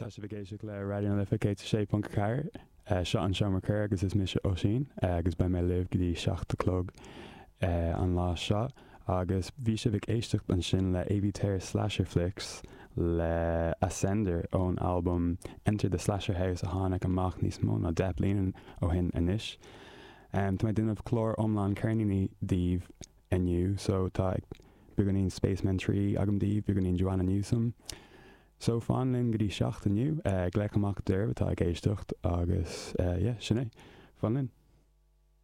Tá sibh ag éisteacht le Raidió na Life 106.4. Seo an Seomra Comhrá agus is mise Oisín agus beidh mé libh go dtí 7 a chlog an lá seo. Agus bhí sibh ag éisteacht ansin le Avey Tare Slasher Flicks le Ascender ón albam Enter the Slasher House a tháinig amach níos mó ná 10 bliana ó shin anois. Tá mé ag déanamh clár iomlán ceirníní daoibh inniu so tá beagáinín Spacemen 3 agam daoibh, beagáinín Joanna Newsom. So fan linn go dtí 7 inniu, glaoch amach daoibh atá ag éisteacht agus yeah, sin é. Fan linn.